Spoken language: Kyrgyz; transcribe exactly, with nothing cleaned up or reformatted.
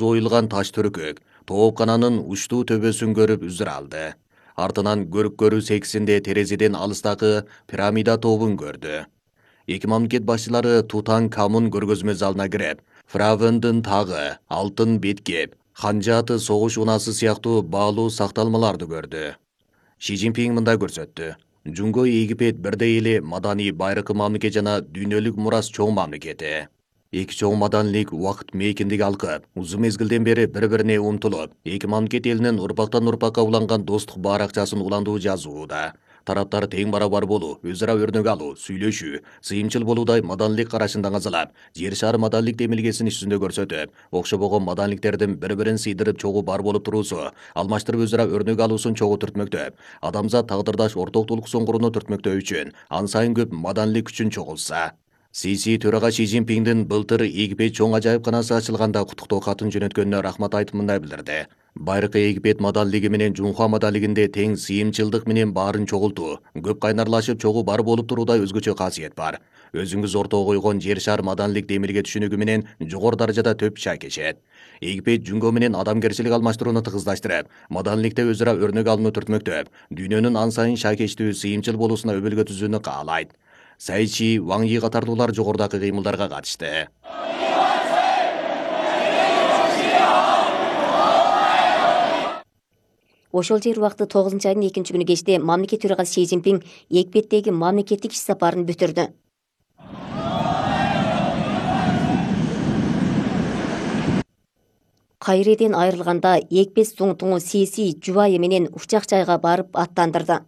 азы оюлган таш түркөк тоопкананын учтуу төбөсүн көрүп үзүр алды. Артынан көрүп көрүү сексинде терезеден алыстагы пирамида тобун көрдү. Эки мамлекет башчылары Тутанкамун көргөзмө залына кирип, фараондун тагы, алтын беткеп, ханжааты согуш унасы сыяктуу баалуу сакталмаларды көрдү. Ши Цзиньпин мындай көрсөттү. Жунго Египет бирдей эле маданий байыркы мамлекет жана дүйнөлүк мурас чоң мамлекети. Эки чоң маданилик убакыт мейкиндик алкып, узун мезгилден бери бири-бирине умтулуп, эки мамлекет элинин урпактан урпакка уланган достук бааракчасын уландуу жазууда. Тараптар тең барабар болуу, өз ара өрнөк алуу, сүйлөшүү, сыйымчыл болуудай маданилик карашын даңазалап, жер шаар маданилик демилгесин үстүндө көрсөтүп, окшобогон маданиликтердин бири-бирин сыйдырып чогуу бар болуп туруусу, алмаштырып өз ара өрнөк алуусун чогуу түртмөктөп, адамзат тагдырдаш ортоктулук соңгуруну түртмөктөө үчүн ан сайын көп маданилик күчүн чогултса. Сиси төрага Ши Цзиньпиндин былтыр Египет чоң ажайыпканасы ачылганда куттуктоо катын жөнөткөнүнө рахмат айтып мындай билдирди. Байыркы Египет маданилиги менен Жунхуа маданилигинде тең сыйымчылдык менен баарын чогултуу, көп кайнарлашып чогуу бар болуп туруудай өзгөчө касиет бар. Өзүңүз ортого койгон жер шаар маданилик демилге түшүнүгү менен жогору даражада төп шайкешет. Египет Жунго менен адамгерчилик алмаштырууну тыгыздаштырып, маданиликте өз ара өрнөк алууну түртмөктөп, дүйнөнүн ан сайын шайкечтүү, сыйымчыл болуусуна өбөлгө түзүүнү каалайт. Сайчи, Ваң Йи катардуулар жогорудагы кыймылдарга катышты. Ошол жер убакыты тогузунчу айдын экинчи күнү кечте мамлекет төрагасы Ши Цзиньпин Египеттеги мамлекеттик иш сапарын бүтүрдү. Кайреден айрылганда Египет зуңтуңу Сиси жубайы менен учак жайга барып аттандырды.